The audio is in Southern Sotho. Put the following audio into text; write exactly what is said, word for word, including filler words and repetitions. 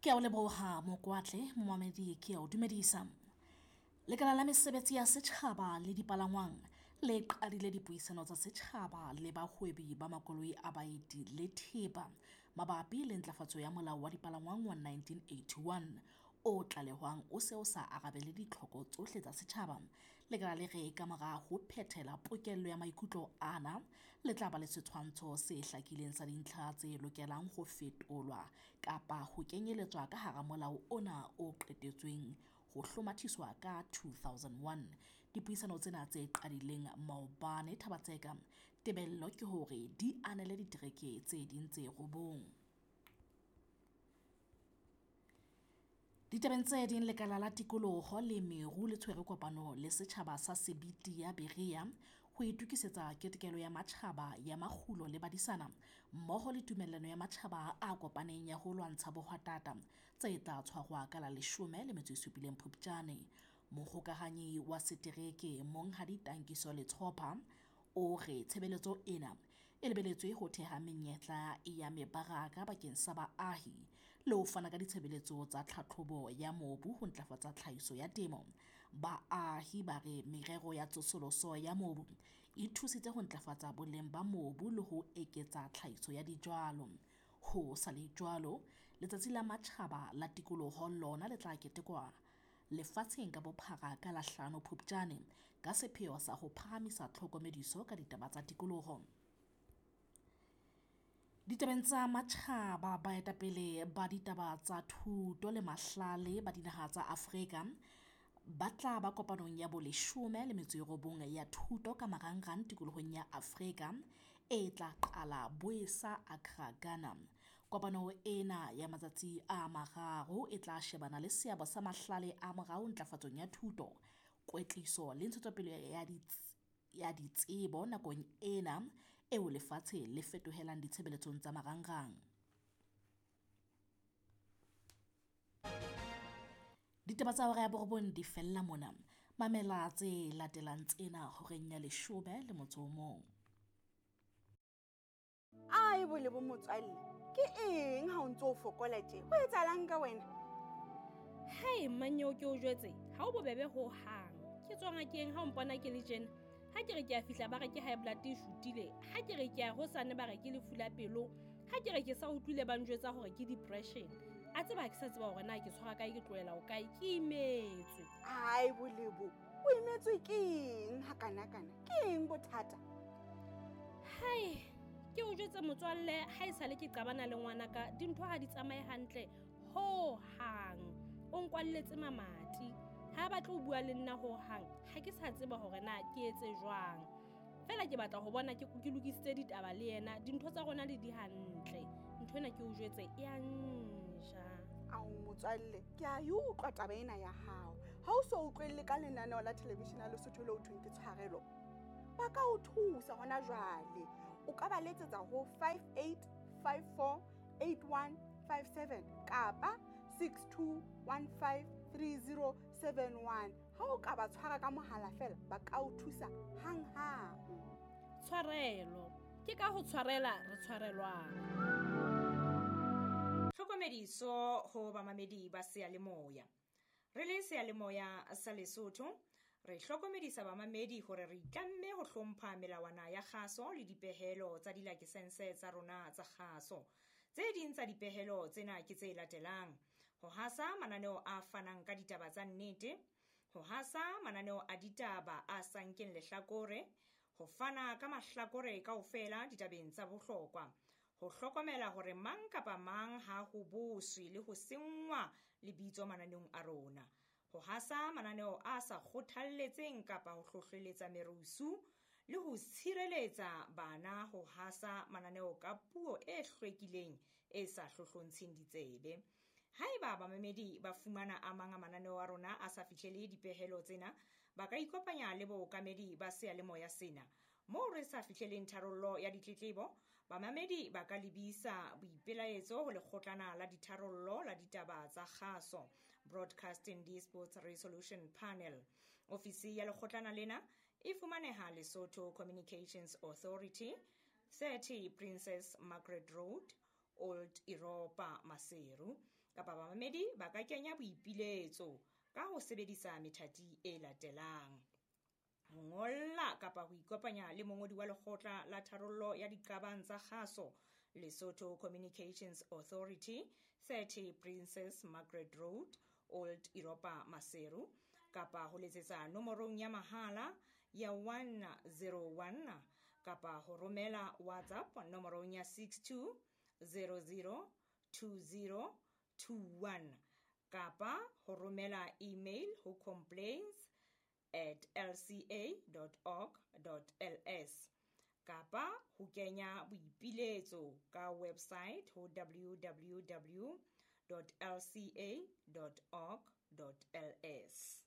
Ke a o leboha Mokwatle, momamedi ke a o dumedisa. Lekala la mesebetsi ya setjhaba le dipalangwang le qadile dipuisano tsa setjhaba le bahwebi ba makoloi a baeti le thepa mabapi le ntlafatso ya Molao wa Dipalangwang wa nineteen eighty-one o tlalehwang o se o sa arabele ditlhoko tsohle tsa setjhaba. Lekala le re kamora ho phethela pokello ya maikutlo ana, le tla ba le setshwantsho se hlakileng sa dintlha tse lokelang ho fetolwa kapa ho kenyeletswa ka hara molao ona o qetetsweng ho hlomathiswa ka two thousand one. Dipuisano tsena tse qadileng maobane Thaba-Tseka, tebello ke hore di anele ditereke tse ding tse robong. Ditabeng tse ding, lekala la tikoloho le meru le tshwere kopano le setjhaba sa Sebiti ya Berea ho itokisetsa ketekelo ya matjhaba ya makgulo le badisana mmoho le tumellano ya matjhaba a kopaneng ya ho lwantsha bohwatata tse tla tshwarwa ka la leshome le metso e supileng Phupjane. Mohokahanyi wa setereke Monghadi Tankiso Letshopha o re tshebeletso ena e lebeletswe ho theha menyetla ya mebaraka bakeng sa baahi le ho fana ka ditshebeletso tsa tlhatlhobo ya mobu ho ntlafatsa tlhahiso ya temo. Baahi ba re merero ya tsosoloso ya mobu e thusitse ho ntlafatsa boleng ba mobu le ho eketsa tlhahiso ya dijalo. Ho sa le jwalo, letsatsi la matjhaba la tikoloho lona le tla ketekwa lefatsheng ka bophara ka la hlano Phupjane ka sepheo sa ho phahamisa tlhokomediso ka ditaba tsa tikoloho. Ditabeng tsa matjhaba, baetapele ba ditaba tsa thuto le mahlale ba dinaha tsa Afrika ba tla ba kopanong ya boleshome le metso e robong ya thuto ka marangrang tikolohong ya Afrika e tla qala Boesa Accra, Ghana. Kopano ena ya matsatsi a mararo e tla shebana le seabo sa mahlale a morao ntlafatsong ya thuto, kwetliso le ntshetsopele ya dits-, ya ditsebo nakong ena eo lefatshe le fetohelang ditshebeletsong tsa marangrang. Ditaba tsa hora ya borobong di fella mona. Mamela tse latelang tsena horeng ya leshome le motso o mong. Ai bole bo motswalle, ke eng ha o ntso o fokola tje? Ho etsahalang ka wena? Hai mmanyeo ke o jwetse, ha o bobebe ho hang. Ke tswa ngakeng ha o mpona ke le tjena. Ha ke re ke a fihla ba re ke high blood e shutile, ha ke re ke a hosane ba re ke lefu la pelo, ha ke re ke sa utlwile ba njwetsa hore ke depression. A tseba ha ke sa tseba hore na ke tshwara kae, ke tlohela ho kae, ke imetswe. Ai bolebo, o imetswe ke eng ha kana kana? Ke eng bothata? Hai, ke o jwetse motswalle, ha e sale ke qabana le ngwanaka, dintho ha di tsamaye hantle ho hang. O nkwalletse mamati. Ha ba tlo bua le nna ho hang, ha ke sa tseba hore na ke etse jwang. Fela ke batla ho bona ke, ke lokisitse ditaba le yena, dintho tsa rona le di hantle. Ntho ena ke o jwetse e a nja. Ao motswalle, ke a e utlwa taba ena ya hao. Ha o so utlwelle ka lenaneo la television ya Lesotho le ho thweng ke Tshwarelo, ba ka o thusa hona jwale. O ka ba letsetsa ho five eight five four eight one five seven kapa six two one five three zero seven one. Ha o ka ba tshwara ka mohala fela, ba ka o thusa hanghang. Tshwarelo, ke ka ho tshwarela re tshwarelwang. Tlhokomediso ho bamamedi ba seyalemoya. Re le seyalemoya sa Lesotho, re hlokomedisa bamamedi hore re itlamme ho hlompha melawana ya kgaso le dipehelo tsa dilakesense tsa rona tsa kgaso. Tse ding tsa dipehelo tsena ke tse latelang: ho hasa mananeo a fanang ka ditaba tsa nnete, ho hasa mananeo a ditaba a sa nkeng lehlakore, ho fana ka mahlakore kaofela ditabeng tsa bohlokwa, ho hlokomela hore mang kapa mang ha ho boswe le ho senngwa lebitso mananeong a rona, ho hasa mananeo a sa kgothalletseng kapa ho hlohleletsa merusu, le ho tshireletsa bana ho hasa mananeo ka puo e hlwekileng e sa hlohlontsheng ditsebe. Haeba bamamedi ba fumana a mang a mananeo a rona a sa fihlele dipehelo tsena, ba ka ikopanya le bookamedi ba seyalemoya sena. Moo re sa fihleleng tharollo ya ditletlebo, bamamedi ba ka lebisa boipelaetso ho lekgotlana la ditharollo la ditaba tsa kgaso, Broadcasting Disputes Resolution Panel. Ofisi ya lekgotlana lena e fumaneha Lesotho Communications Authority, thirty Princess Margaret Road, Old Europa, Maseru. Kapa bamamedi ba ka kenya boipiletso ka ho sebedisa methati e latelang: ho ngolla kapa ho ikopanya le mongodi wa lekgotla la tharollo ya diqabang tsa kgaso, Lesotho Communications Authority, thirty Princess Margaret Road, Old Europa, Maseru, kapa ho letsetsa nomorong ya mahala ya one zero one kapa ho romela WhatsApp nomorong ya six two zero zero two zero two one kapa ho romela email ho complaints at l c a dot org dot l s kapa ho kenya boipiletso ka website ho w w w dot l c a dot org dot l s.